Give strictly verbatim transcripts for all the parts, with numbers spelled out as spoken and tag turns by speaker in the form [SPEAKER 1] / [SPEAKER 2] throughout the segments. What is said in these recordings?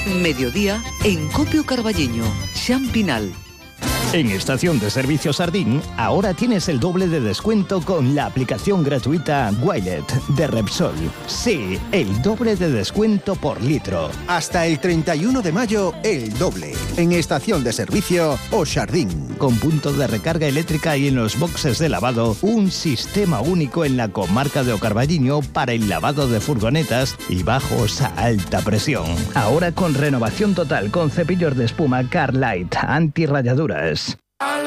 [SPEAKER 1] Mediodía en Copio Carballiño, Xampinal.
[SPEAKER 2] En Estación de Servicio Sardín, ahora tienes el doble de descuento con la aplicación gratuita Wilet de Repsol. Sí, el doble de descuento por litro.
[SPEAKER 3] Hasta el treinta y uno de mayo, el doble. En Estación de Servicio O Sardín.
[SPEAKER 2] Con punto de recarga eléctrica y en los boxes de lavado, un sistema único en la comarca de O Carballiño para el lavado de furgonetas y bajos a alta presión. Ahora con renovación total con cepillos de espuma Carlite antirrayaduras.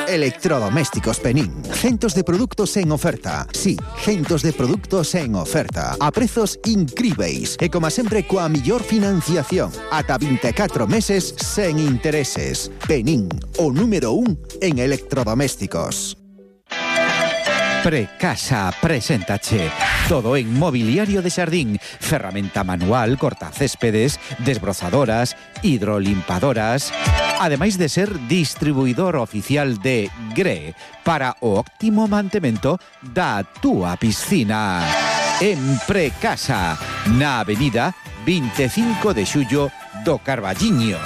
[SPEAKER 3] Electrodomésticos Penín. Centos de produtos en oferta. Sí, centos de produtos en oferta. A prezos incríveis. E como sempre coa millor financiación. Ata vinte e catro meses sen intereses. Penín, o número un en electrodomésticos.
[SPEAKER 4] Precasa preséntache todo en mobiliario de Sardín, ferramenta manual, cortacéspedes, desbrozadoras, hidrolimpadoras, ademais de ser distribuidor oficial de Gre para o óptimo mantemento da túa piscina. En Precasa, na avenida veinticinco de xullo do Carballiño.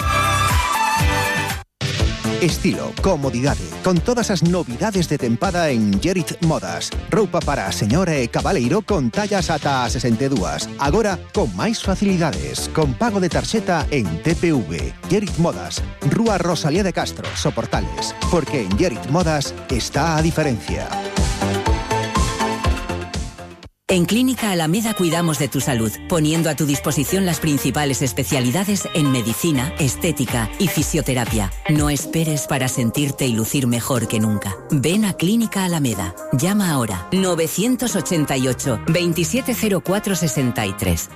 [SPEAKER 3] Estilo, comodidade, con todas as novidades de tempada en Gerit Modas. Roupa para a señora e cabaleiro con tallas ata a sesenta e dúas. Agora, con máis facilidades, con pago de tarxeta en T P V. Gerit Modas, Rúa Rosalía de Castro, Soportales. Porque en Gerit Modas está a diferencia.
[SPEAKER 5] En Clínica Alameda cuidamos de tu salud, poniendo a tu disposición las principales especialidades en medicina, estética y fisioterapia. No esperes para sentirte y lucir mejor que nunca. Ven a Clínica Alameda. Llama ahora novecientos ochenta y ocho, veintisiete cero cuatro sesenta y tres.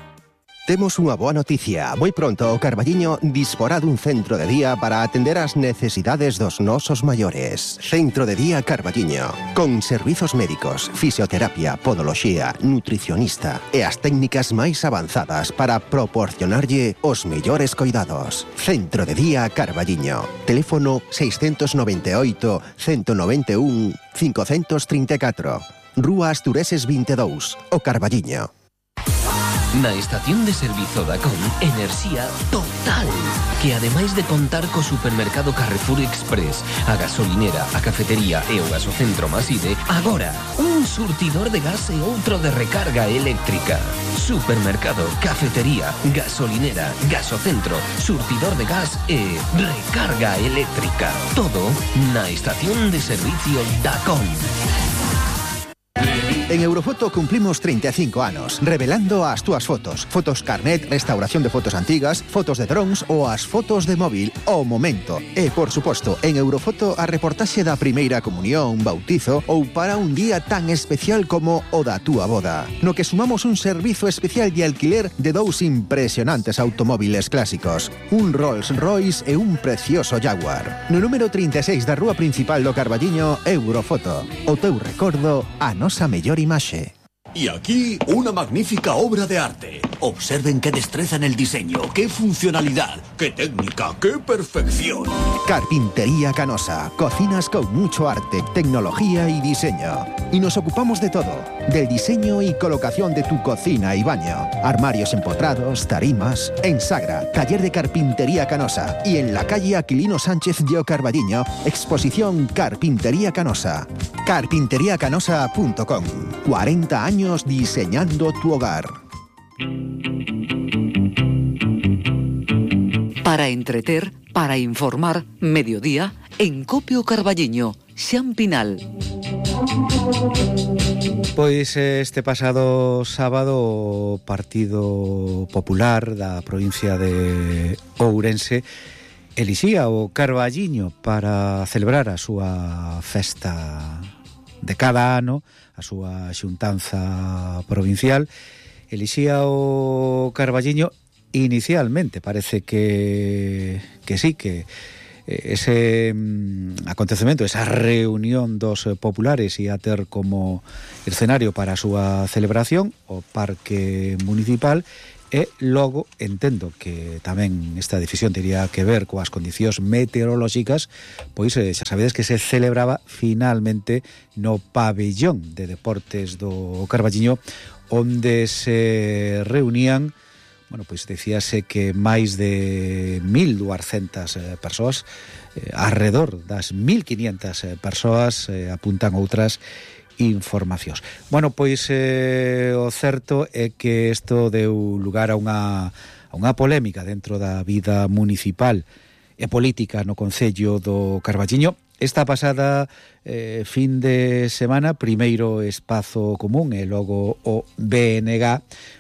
[SPEAKER 3] Temos unha boa noticia. Moi pronto o Carballiño disporá dun centro de día para atender as necesidades dos nosos maiores. Centro de Día Carballiño. Con servizos médicos, fisioterapia, podoloxía, nutricionista e as técnicas máis avanzadas para proporcionarlle os mellores coidados. Centro de Día Carballiño. Teléfono seiscentos noventa e oito, ciento noventa e un, quinhentos trinta e catro. Rúa Astureses vinte e dous, O Carballiño.
[SPEAKER 6] Na estación de servizo da C O M, enerxía total, que ademais de contar co supermercado Carrefour Express, a gasolinera, a cafetería e o gasocentro Maside, agora un surtidor de gas e outro de recarga eléctrica. Supermercado, cafetería, gasolinera, gasocentro, surtidor de gas e recarga eléctrica. Todo na estación de servicio da C O M.
[SPEAKER 3] En Eurofoto cumplimos treinta e cinco anos, revelando as túas fotos. Fotos carnet, restauración de fotos antigas, fotos de drones ou as fotos de móvil ao momento. E, por suposto, en Eurofoto a reportaxe da primeira comunión, bautizo ou para un día tan especial como o da túa boda. No que sumamos un servizo especial de alquiler de dous impresionantes automóviles clásicos. Un Rolls Royce e un precioso Jaguar. No número trinta e seis da rúa principal do Carballiño, Eurofoto. O teu recordo, a nosa mellor imaxe.
[SPEAKER 7] Y aquí una magnífica obra de arte. Observen qué destreza en el diseño, qué funcionalidad, qué técnica, qué perfección.
[SPEAKER 3] Carpintería Canosa. Cocinas con mucho arte, tecnología y diseño. Y nos ocupamos de todo. Del diseño y colocación de tu cocina y baño. Armarios empotrados, tarimas. En Sagra, taller de Carpintería Canosa. Y en la calle Aquilino Sánchez de O Carballiño, exposición Carpintería Canosa. carpintería canosa punto com. cuarenta años diseñando tu hogar.
[SPEAKER 1] Para entreter, para informar, Mediodía en Copio Carballiño, Xampinal.
[SPEAKER 4] Pois este pasado sábado o Partido Popular da provincia de Ourense elixía o Carballiño para celebrar a súa festa de cada ano, a súa xuntanza provincial. Elixía o Carballiño inicialmente, parece que que sí, que ese mm, acontecemento, esa reunión dos populares ia ter como escenario para a súa celebración o Parque Municipal. E logo entendo que tamén esta decisión tería que ver coas condicións meteorolóxicas, pois eh, xa sabedes que se celebraba finalmente no pabellón de deportes do Carballiño, onde se reunían bueno, pois decíase que máis de mil duascentas eh, persoas, eh, alrededor das mil quinientas eh, persoas eh, apuntan outras informacións. Bueno, pois eh, o certo é que isto deu lugar a unha, a unha polémica dentro da vida municipal e política no Concello do Carballiño. Esta pasada eh, fin de semana, primeiro Espazo Común e logo o B N G,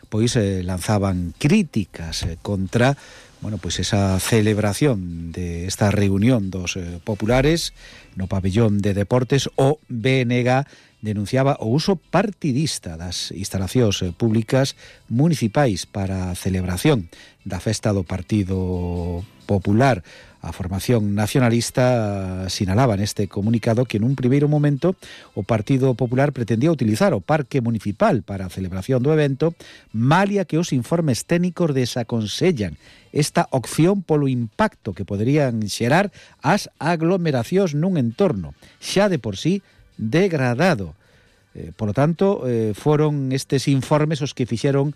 [SPEAKER 4] pois eh, lanzaban críticas eh, contra, bueno, pois esa celebración de esta reunión dos eh, populares no pabellón de deportes. O B N G denunciaba o uso partidista das instalacións eh, públicas municipais para a celebración da festa do Partido Popular. A formación nacionalista sinalaba neste comunicado que nun primeiro momento o Partido Popular pretendía utilizar o Parque Municipal para a celebración do evento, malia que os informes técnicos desaconsellan esta opción polo impacto que poderían xerar as aglomeracións nun entorno xa de por sí degradado. Eh, polo tanto, eh, foron estes informes os que fixeron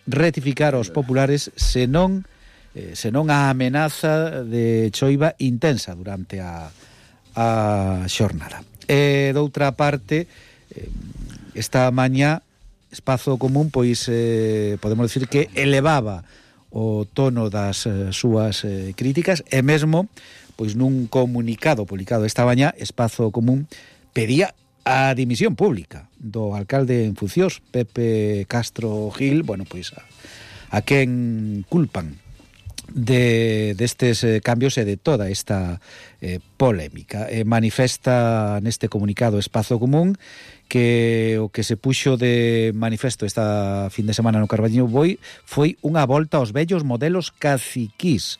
[SPEAKER 4] rectificar aos populares, senón Eh, senón a amenaza de choiva intensa durante a, a xornada. E doutra parte, eh, esta mañá Espazo Común, pois eh, podemos dicir que elevaba o tono das eh, súas eh, críticas, e mesmo pois nun comunicado publicado esta mañá, Espazo Común pedía a dimisión pública do alcalde en funcións, Pepe Castro Gil, bueno, pois a, a quen culpan de destes eh, cambios e de toda esta eh, polémica. Eh, manifesta neste comunicado Espazo Común que o que se puxo de manifesto esta fin de semana no Carballiño Boi foi unha volta aos vellos modelos caciquís,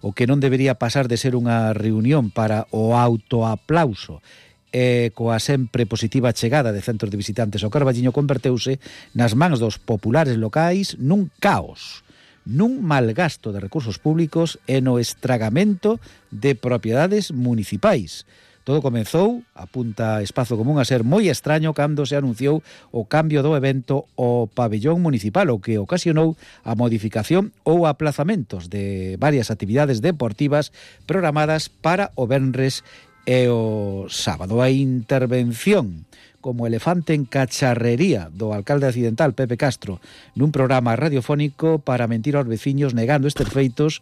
[SPEAKER 4] o que non debería pasar de ser unha reunión para o autoaplauso e coa sempre positiva chegada de centros de visitantes ao Carballiño converteuse nas mans dos populares locais nun caos, nun malgasto de recursos públicos e no estragamento de propiedades municipais. Todo comezou, apunta Espazo Común, a ser moi extraño cando se anunciou o cambio do evento ao pabellón municipal, o que ocasionou a modificación ou aplazamentos de varias actividades deportivas programadas para o venres e o sábado. A intervención como elefante en cacharrería do alcalde accidental Pepe Castro nun programa radiofónico para mentir aos veciños negando estes feitos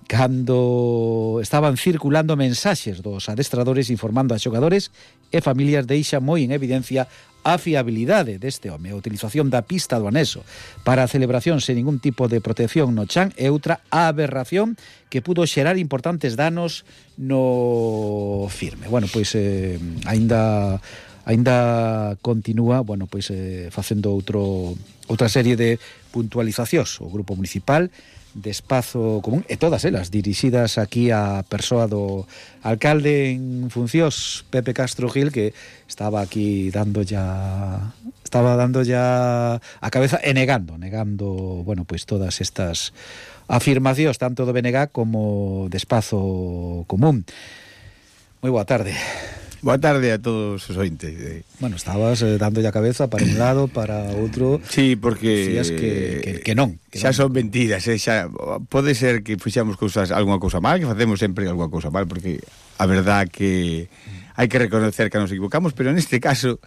[SPEAKER 4] cando estaban circulando mensaxes dos adestradores informando a xogadores e familias, deixa moi en evidencia a fiabilidade deste home. A utilización da pista do anexo para a celebración sen ningún tipo de protección no chan é outra aberración que pudo xerar importantes danos no firme. Bueno, pois eh, aínda Ainda continúa, bueno, pois eh, facendo outro outra serie de puntualizacións o Grupo Municipal de Espazo Común e todas elas dirixidas aquí á persoa do alcalde en funcións Pepe Castro Gil, que estaba aquí dando ya estaba dando ya a cabeza e negando, negando, bueno, pois todas estas afirmacións tanto do B N G como de Espazo Común. Moi boa tarde.
[SPEAKER 8] Boa tarde a todos os ointes.
[SPEAKER 4] Bueno, estabas eh, dando a cabeza para un lado, para outro.
[SPEAKER 8] Sí, porque
[SPEAKER 4] decías que, que, que non que
[SPEAKER 8] xa
[SPEAKER 4] non.
[SPEAKER 8] son mentiras, eh, xa pode ser que fixamos cousas, algunha cousa mal, que facemos sempre algunha cousa mal, porque a verdad que hai que reconocer que nos equivocamos, pero neste caso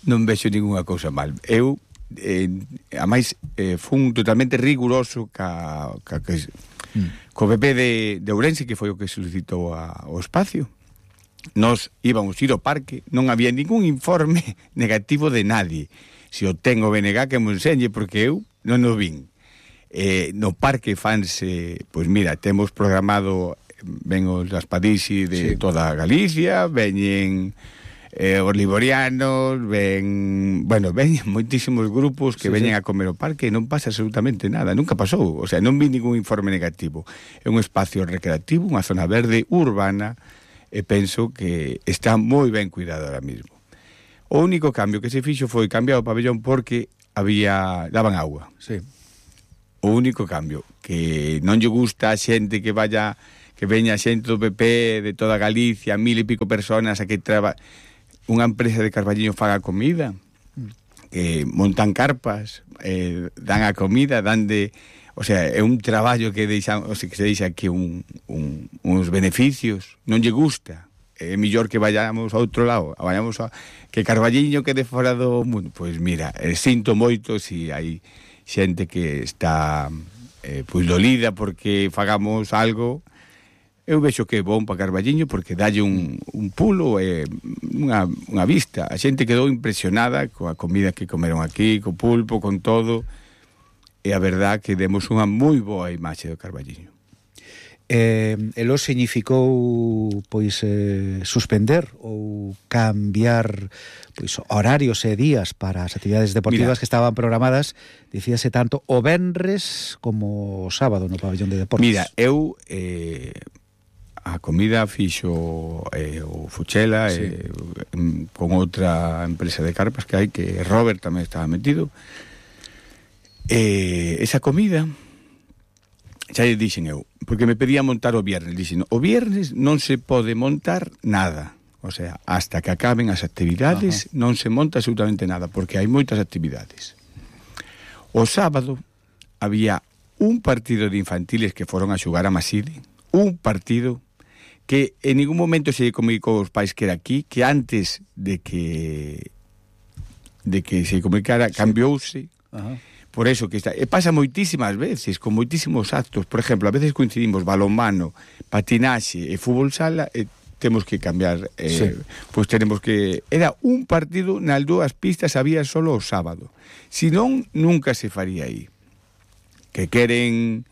[SPEAKER 8] non vexo ninguna cousa mal. Eu eh, a máis eh, fun totalmente riguroso ca, ca, que, mm. co P P de, de Ourense, que foi o que solicitou a, o espacio. Nos íbamos ir ao parque, non había ningún informe negativo de nadie. Se o ten o B N G que me enseñe, porque eu non o vin. Eh, no parque fanse, pois mira, temos programado, ven os Raspadixi de sí. toda Galicia, veñen eh, os liborianos, ven, bueno, veñen moitísimos grupos que sí, veñen sí. a comer ao parque e non pasa absolutamente nada, nunca pasou, o sea, non vi ningún informe negativo. É un espacio recreativo, unha zona verde urbana, e penso que está moi ben cuidado ahora mismo. O único cambio que se fixo foi cambiar o pabellón porque había daban agua.
[SPEAKER 4] Sí.
[SPEAKER 8] O único cambio, que non lle gusta a xente que vaya, que veña xente do P P de toda Galicia, mil e pico personas a que traba unha empresa de Carballiño faga comida, que montan carpas, eh, dan a comida, dan de o sea, é un traballo que deixa, o sea, que se deixa aquí un, un, uns beneficios, non lle gusta. É mellor que vayamos a outro lado, vayamos a que Carballiño quede fora do mundo. Pois mira, eh, sinto moito si hai xente que está eh, pois dolida porque fagamos algo. Eu vexo que é bom para Carballiño porque dalle un, un pulo e eh, unha, unha vista. A xente quedou impresionada coa comida que comeron aquí, co pulpo, con todo. E a verdad que demos unha moi boa imaxe do Carballiño.
[SPEAKER 4] Eh, elo significou pois eh, suspender ou cambiar pois horarios e días para as actividades deportivas. Mira, que estaban programadas, dicíase tanto o venres como o sábado no pabellón de deportes.
[SPEAKER 8] Mira, eu eh, a comida fixo eh, o Fuchela, sí, eh, con outra empresa de carpas que hai, que Robert tamén estaba metido. Eh, esa comida xa lle dixen eu, porque me pedía montar o viernes. Dixen, o viernes non se pode montar nada. O sea, hasta que acaben as actividades, ajá, non se monta absolutamente nada, porque hai moitas actividades. O sábado había un partido de infantiles que foron a xugar a Maside, un partido que en ningún momento se comunicou aos pais que era aquí, que antes de que de que se comunicara, sí, cambiouse. Ajá. Por eso que está, e pasa moitísimas veces, con moitísimos actos. Por exemplo, a veces coincidimos balonmano, patinaxe e fútbol sala, e temos que cambiar, eh, sí, pois tenemos que... Era un partido, nas dúas pistas había solo o sábado. Si non, nunca se faría aí. Que queren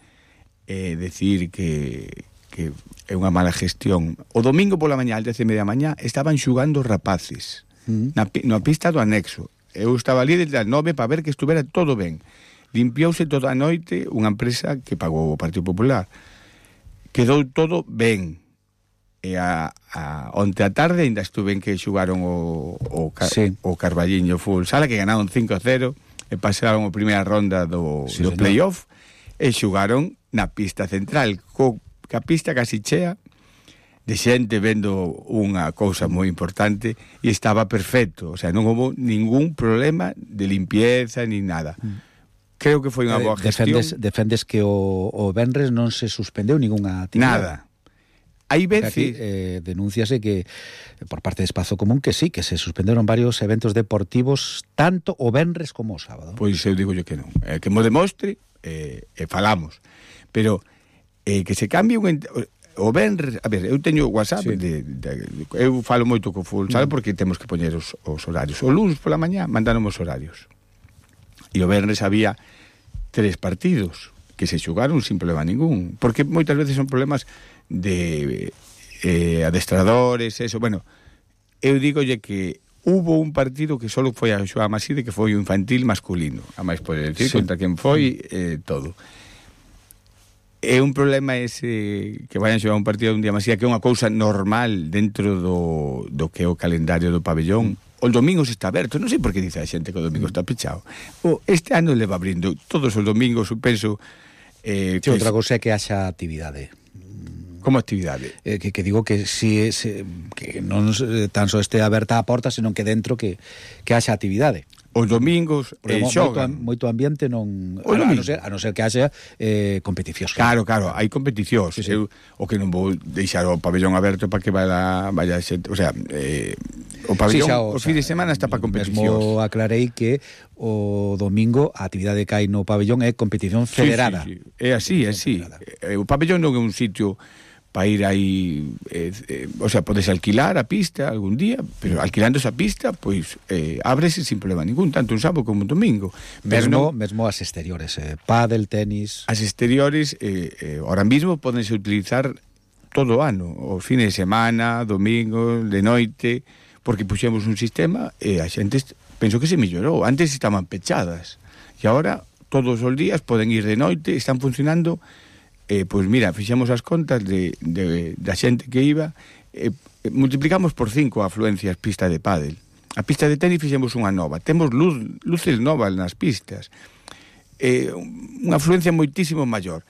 [SPEAKER 8] eh, decir que, que é unha mala gestión. O domingo pola mañá, às dez e media da mañá, estaban xugando rapaces, mm, na, na pista do anexo. Eu estaba ali desde as nove para ver que estuvera todo ben. Limpiouse toda a noite unha empresa que pagou o Partido Popular. Quedou todo ben. E a, a, onte a tarde ainda estuven que xugaron o, o, sí, o Carballiño Full Sala, que ganaron cinco a cero e pasaron a primeira ronda do, sí, do playoff, e xugaron na pista central, co, ca pista casi chea de xente vendo unha cousa moi importante, e estaba perfecto, o sea, non houve ningún problema de limpieza ni nada. Creo que foi unha boa gestión.
[SPEAKER 4] Defendes, defendes que o, o venres non se suspendeu ningunha actividade?
[SPEAKER 8] Nada. Hai veces...
[SPEAKER 4] Aquí, eh, denúnciase que, por parte de Espazo Común, que sí, que se suspenderon varios eventos deportivos, tanto o venres como o sábado.
[SPEAKER 8] Pois eu digo yo que non. Eh, que mo demostre, eh, e falamos. Pero eh, que se cambie un... O venres, a ver, eu teño WhatsApp, sí, de, de, de, eu falo moito co Full Sala, mm, porque temos que poñer os, os horarios. O lunes pola mañá mandaron os horarios. E o venres había tres partidos que se xugaron sin problema ningún, porque moitas veces son problemas de eh, adestradores, eso, bueno, eu digolle que hubo un partido que solo foi a xogar a Maside, que foi o infantil masculino, a máis poder decir, sí, contra quen foi, eh, todo. É un problema ese que vayan xogar un partido un día máis, que é unha cousa normal dentro do, do que é o calendario do pabellón. O domingo está aberto, non sei por que dice a xente que o domingo está pechado. O, este ano le va abrindo todos os domingos, penso...
[SPEAKER 4] Eh, sí, outra cousa é que haxa actividade.
[SPEAKER 8] Como actividade?
[SPEAKER 4] Eh, que, que digo que si se, que non tan só este aberta a porta, senón que dentro que, que haxa actividade.
[SPEAKER 8] Os domingos eh, xogan.
[SPEAKER 4] Moito, moito ambiente non... A, a, non ser, a non ser que haxa eh, competicións.
[SPEAKER 8] Claro, claro, hai competicións. Sí, sí. Eu, o que non vou deixar o pabellón aberto para que vaya, vaya xente... O sea, eh, o pabellón, sí, xa, o, o fin de semana está para competicións.
[SPEAKER 4] Mesmo aclarei que o domingo a actividade que hai no pabellón é competición federada.
[SPEAKER 8] Sí, sí, sí. É así, é así. Eh, o pabellón non é un sitio para ir aí, eh, eh, o sea, podes alquilar a pista algún día, pero alquilando esa pista, pois eh, ábrese sin problema ningún, tanto un sábado como un domingo.
[SPEAKER 4] Mesmo, no, mesmo as exteriores, eh, pádel, tenis...
[SPEAKER 8] As exteriores, eh, eh, ahora mismo podense utilizar todo o ano, o fin de semana, domingo, de noite, porque puxemos un sistema e a xente, penso que se mellorou. Antes estaban pechadas, e agora todos os días poden ir de noite, están funcionando... Eh, pois mira, fixemos as contas de, de, da xente que iba, eh, multiplicamos por cinco a afluencias pista de pádel. A pista de tenis fixemos unha nova, temos luz, luces novas nas pistas, eh, unha afluencia moitísimo maior.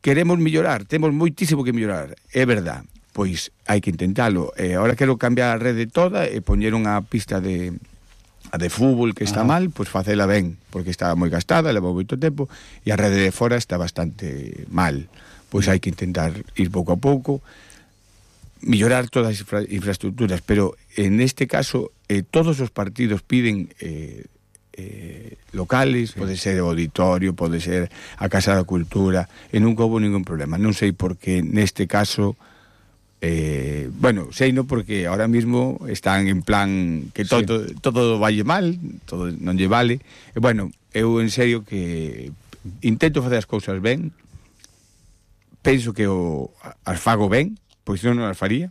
[SPEAKER 8] Queremos mellorar, temos moitísimo que mellorar, é verdad, pois hai que intentalo. Eh, ahora quero cambiar a rede toda e poñer unha pista de, a de fútbol que está ah. mal, pois facela ben, porque está moi gastada, leva moito tempo, e a rede de fora está bastante mal. Pois hai que intentar ir pouco a pouco, mellorar todas as infra infraestructuras, pero en este caso eh, todos os partidos piden eh, eh, locales, sí. Pode ser o auditorio, pode ser a Casa da Cultura, e nunca houve ningún problema. Non sei por que neste caso, eh, bueno, sei no porque ahora mismo están en plan que todo, sí. todo valle mal, todo non lle vale, e bueno, eu en serio que intento facer as cousas ben, penso que o, as fago ben, pois non as faría,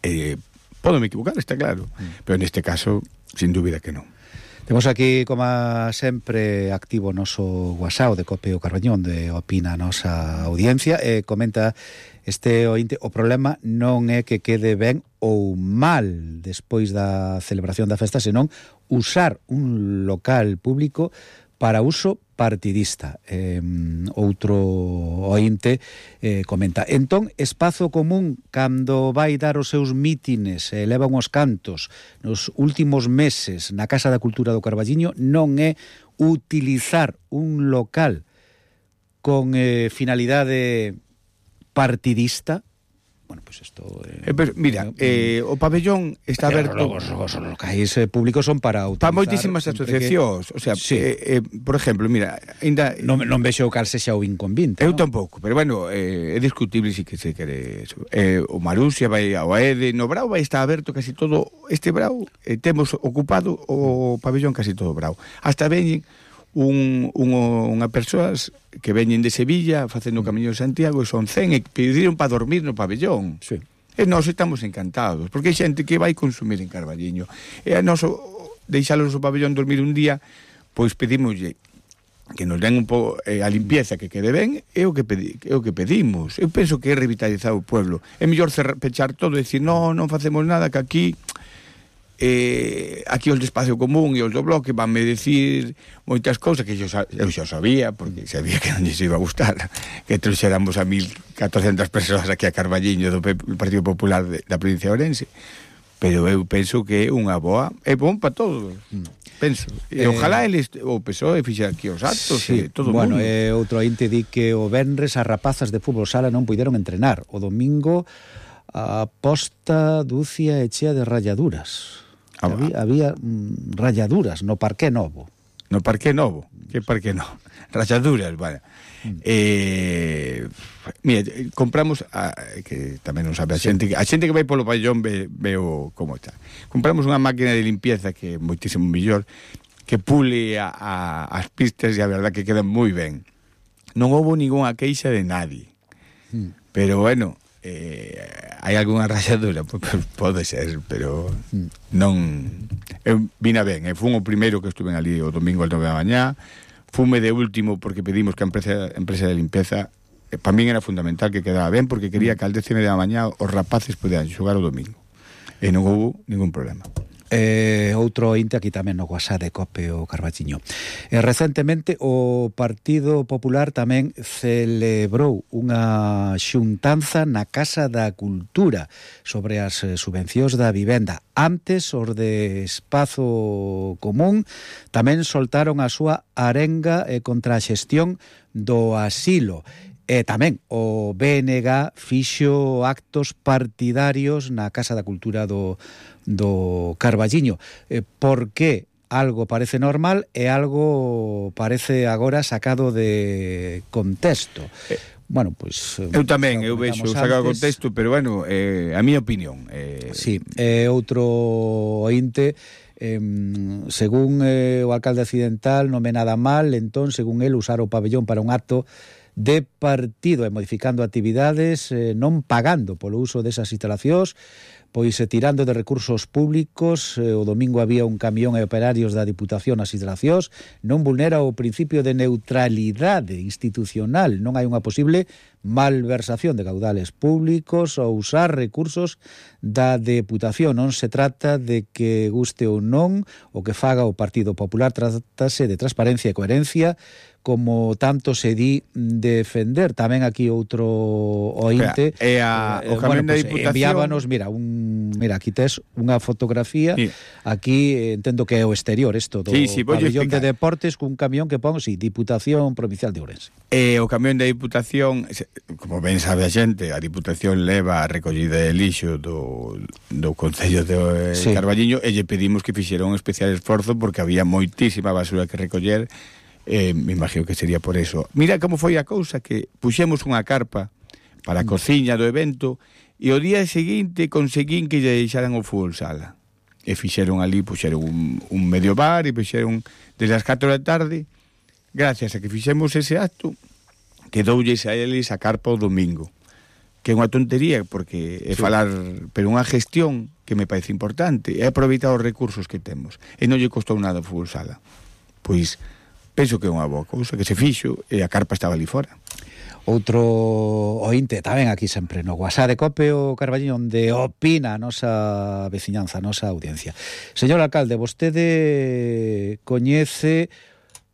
[SPEAKER 8] eh, podo me equivocar, está claro, mm. pero neste caso, sin dúbida que non.
[SPEAKER 4] Temos aquí, como sempre, activo o noso WhatsApp de Cope o Carbañón, de opina a nosa audiencia, e comenta este ointe, o problema non é que quede ben ou mal despois da celebración da festa, senón usar un local público para uso partidista. Eh, outro ointe eh, comenta: entón, espazo común cando vai dar os seus mítines e leva uns cantos nos últimos meses na Casa da Cultura do Carballiño non é utilizar un local con eh, finalidade partidista. Bueno, pues esto...
[SPEAKER 8] Eh, eh, pero, mira, eh, o pabellón está aberto...
[SPEAKER 4] Los, los, los locais eh, públicos son para utilizar...
[SPEAKER 8] Para moitísimas asociacións. Que... O sea, sí. eh, eh, por exemplo, mira... Ainda...
[SPEAKER 4] Non, non vexo cal sexa o inconvinte,
[SPEAKER 8] Eu
[SPEAKER 4] ¿no?
[SPEAKER 8] tampouco, pero bueno, eh, é discutible si que se quere eso. Eh, o Marusia vai ao Aede, no Brau vai estar aberto casi todo... Este Brau, eh, temos ocupado o pabellón casi todo Brau. Hasta veñen un, un, unha persoas que veñen de Sevilla facendo o Camiño de Santiago e son cen e pediron para dormir no pabellón.
[SPEAKER 4] Sí.
[SPEAKER 8] E nós estamos encantados, porque hai xente que vai consumir en Carballiño. E a noso deixalos no pabellón dormir un día, pois pedimoslle que nos den un pouco eh, a limpieza que quede ben, é o que pedi, é o que pedimos. Eu penso que é revitalizar o pueblo. É mellor cerrar, pechar todo e dicir, non, non facemos nada, que aquí eh, aquí os de Espacio Común e os do Bloque vanme decir moitas cousas que eu xa, eu xa sabía, porque sabía que non lles iba a gustar que trouxéramos a mil catrocentas persoas aquí a Carballiño do Partido Popular de, da provincia de Ourense, pero eu penso que é unha boa, é bom para todos, penso, e eh, ojalá eles, o P S O E fixe aquí os actos,
[SPEAKER 4] sí,
[SPEAKER 8] e todo o
[SPEAKER 4] bueno,
[SPEAKER 8] mundo.
[SPEAKER 4] E outro ente di que o venres as rapazas de fútbol sala non puideron entrenar, o domingo a posta dúcia e chea de ralladuras. Ah, había, había mm, ralladuras no Parque Novo.
[SPEAKER 8] No Parque Novo? Que Parque Novo? Ralladuras, vale. Mm. Eh, mira, compramos a, que tamén non sabe a sí. xente, a xente que vai polo pabellón ve, veo como está. Compramos unha máquina de limpieza que é moitísimo mellor, que pule a, a, as pistas, e a verdad que quedan moi ben. Non houve ningunha queixa de nadie. Mm. Pero bueno, eh, hai algunha rayadura, pues, pode ser, pero non... Eu vina ben, e fun o primeiro que estuve ali o domingo al nove da mañá, fume de último porque pedimos que a empresa, empresa de limpieza, eh, para min era fundamental que quedaba ben, porque quería que al décimo da mañá os rapaces poderan xogar o domingo, e non houve ningún problema.
[SPEAKER 4] Eh, outro inte aquí tamén no WhatsApp de Cope o Carballiño. Eh, recentemente o Partido Popular tamén celebrou unha xuntanza na Casa da Cultura sobre as eh, subvencións da vivenda. Antes, os de Espazo Común tamén soltaron a súa arenga eh, contra a xestión do asilo. E tamén o B N G fixo actos partidarios na Casa da Cultura do, do Carballiño. Eh, por que algo parece normal e algo parece agora sacado de contexto? Eh, bueno, pois...
[SPEAKER 8] Eu tamén, eu vexo sacado de contexto, pero bueno, eh, a miña opinión. Eh...
[SPEAKER 4] Sí, eh, outro ointe... Eh, según eh, o alcalde accidental non ve nada mal, entón, según el, usar o pabellón para un acto de partido e modificando actividades, eh, non pagando polo uso desas instalacións, pois eh, tirando de recursos públicos. Eh, o domingo había un camión e operarios da Diputación nas instalacións, non vulnera o principio de neutralidade institucional, non hai unha posible malversación de caudales públicos ou usar recursos da Deputación. Non se trata de que guste ou non o que faga o Partido Popular, trátase de transparencia e coherencia, como tanto se di defender. Tamén aquí outro ointe,
[SPEAKER 8] e a,
[SPEAKER 4] eh,
[SPEAKER 8] o camión
[SPEAKER 4] bueno,
[SPEAKER 8] da
[SPEAKER 4] pues,
[SPEAKER 8] Diputación
[SPEAKER 4] enviábanos, mira, un mira, aquí tes unha fotografía, sí. Aquí eh, entendo que é o exterior isto do
[SPEAKER 8] sí, sí,
[SPEAKER 4] pabellón de deportes cun camión que pon, si, sí, Diputación Provincial de Ourense.
[SPEAKER 8] Eh, o camión da Diputación, como ben sabe a xente, a Diputación leva a recollida de lixo do, do Concello de sí. Carballiño e lle pedimos que fixera un especial esforzo porque había moitísima basura que recoller. Eh, me imagino que sería por eso. Mira como foi a cousa, que puxemos unha carpa para a cociña do evento e o día seguinte conseguín que lle deixaran o fútbol sala. E fixeron ali, puxeron un, un medio bar e fixeron desde as catro da tarde. Gracias a que fixemos ese acto, quedoulles a eles a carpa o domingo. Que é unha tontería, porque é sí. falar, pero unha gestión que me parece importante, é aproveitar os recursos que temos. E non lle costou nada o fútbol sala. Pois penso que é unha boa cousa que se fixo e a carpa estaba ali fora.
[SPEAKER 4] Outro ointe tamén aquí sempre no WhatsApp de Cope o Carballiño, onde opina a nosa veciñanza, a nosa audiencia. Señor alcalde, vostede coñece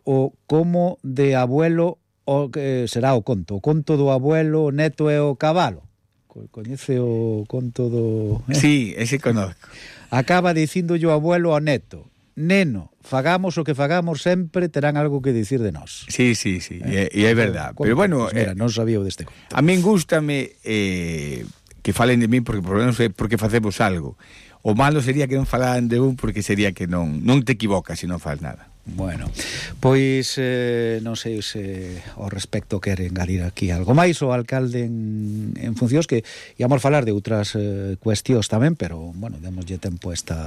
[SPEAKER 4] o como de abuelo o que será o conto, o conto do abuelo, o neto e o cabalo. Coñece o conto do...
[SPEAKER 8] Eh? Sí, ese conozco.
[SPEAKER 4] Acaba dicíndolle o abuelo ao neto: neno, fagamos o que fagamos, sempre terán algo que dicir de nós.
[SPEAKER 8] Sí, sí, sí, eh? e, e é verdad. Pero bueno,
[SPEAKER 4] pues mira,
[SPEAKER 8] eh,
[SPEAKER 4] non sabía o deste conto.
[SPEAKER 8] A min gústame eh, que falen de min porque por lo menos é porque facemos algo. O malo sería que non falaran de un porque sería que non non te equivocas se non faz nada.
[SPEAKER 4] Bueno, pois eh, non sei se ao respecto quere engadir aquí algo máis o alcalde en, en funcións, que íamos falar de outras eh, cuestións tamén, pero bueno, démoslle tempo a esta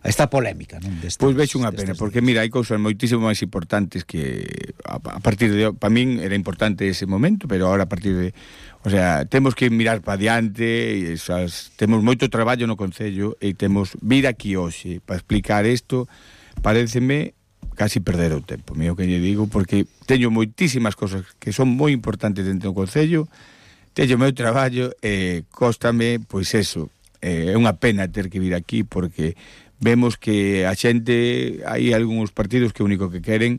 [SPEAKER 4] a esta polémica, non? Destes,
[SPEAKER 8] pois vexo unha pena, porque mira, hai cousas moitísimo máis importantes que a, a partir de, para min era importante ese momento, pero ahora a partir de, o sea, temos que mirar para diante, e esas, temos moito traballo no Concello e temos vir aquí hoxe para explicar isto, paréceme casi perder o tempo, mío que lle digo, porque teño moitísimas cosas que son moi importantes dentro do Concello, teño meu traballo e cóstame, pois eso, é unha pena ter que vir aquí porque vemos que a xente, hai algúns partidos que o único que queren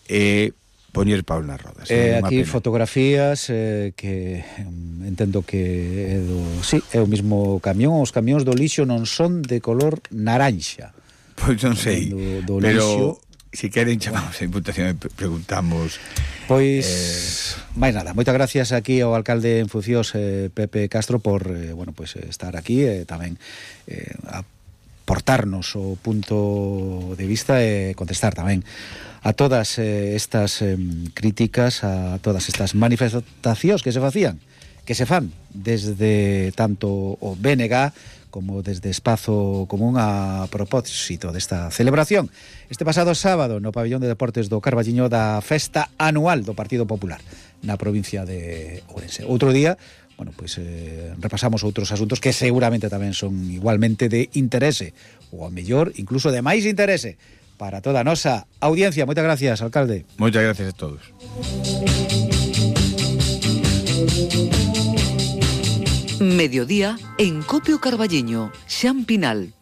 [SPEAKER 8] é poñer pau nas rodas.
[SPEAKER 4] Eh, aquí pena. Fotografías eh, que um, entendo que é do, sí, é o mismo camión, os camións do lixo non son de color naranxa.
[SPEAKER 8] Pois non sei, do, do pero lixo, si queren chamamos a Diputación e preguntamos.
[SPEAKER 4] Pois eh... máis nada, moitas gracias aquí ao alcalde en funcións eh, Pepe Castro por eh, bueno, pues, estar aquí e eh, tamén eh, a aportarnos o punto de vista e contestar tamén a todas eh, estas eh, críticas, a todas estas manifestacións que se facían, que se fan desde tanto o B N G como desde Espazo Común a propósito desta celebración este pasado sábado no pabellón de deportes do Carballiño da festa anual do Partido Popular na provincia de Ourense. Outro día, bueno, pois eh, repasamos outros asuntos que seguramente tamén son igualmente de interese, ou a mellor incluso de máis interese para toda a nosa audiencia. Moitas gracias, alcalde.
[SPEAKER 8] Moitas gracias a todos.
[SPEAKER 1] Mediodía en Copio Carballiño, Xan Pinal.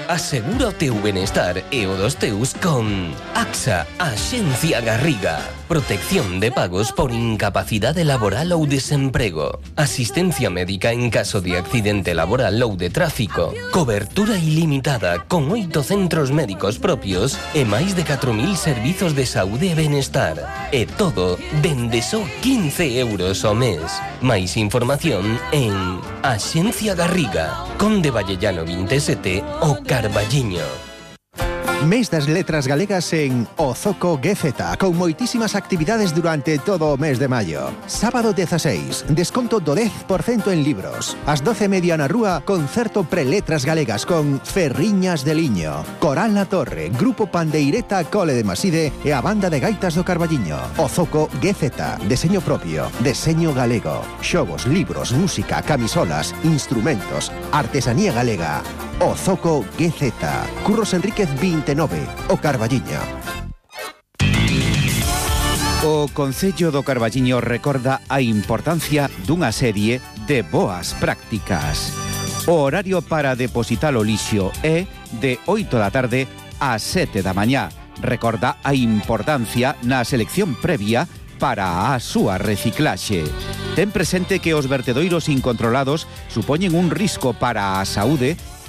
[SPEAKER 6] Asegura o teu benestar e o dos teus con AXA, Axencia Garriga. Protección de pagos por incapacidade laboral ou desemprego. Asistencia médica en caso de accidente laboral ou de tráfico. Cobertura ilimitada con oito centros médicos propios e máis de catro mil servizos de saúde e benestar. E todo dende só quince euros ao mes. Máis información en Axencia Garriga, Conde Vallellano vinte e sete, o Carballiño.
[SPEAKER 3] Mes das letras galegas en Ozoco G Z, con moitísimas actividades durante todo o mes de maio. Sábado dieciséis, desconto do dez por cento en libros. Ás doce e media na rúa, concerto pre-letras galegas con Ferriñas de Liño, Coral La Torre, Grupo Pandeireta Cole de Maside e a Banda de Gaitas do Carballiño. Ozoco G Z, deseño propio, deseño galego, xogos, libros, música, camisolas, instrumentos, artesanía galega. Ozoco G Z, Curros Enríquez vinte e nove, o Carballiño.
[SPEAKER 2] O Concello do Carballiño recorda a importancia dunha serie de boas prácticas. O horario para depositar o lixo é de oito da tarde a sete da mañá. Recorda a importancia na selección previa para a súa reciclaxe.
[SPEAKER 9] Ten presente que os vertedoiros incontrolados supoñen un risco para a saúde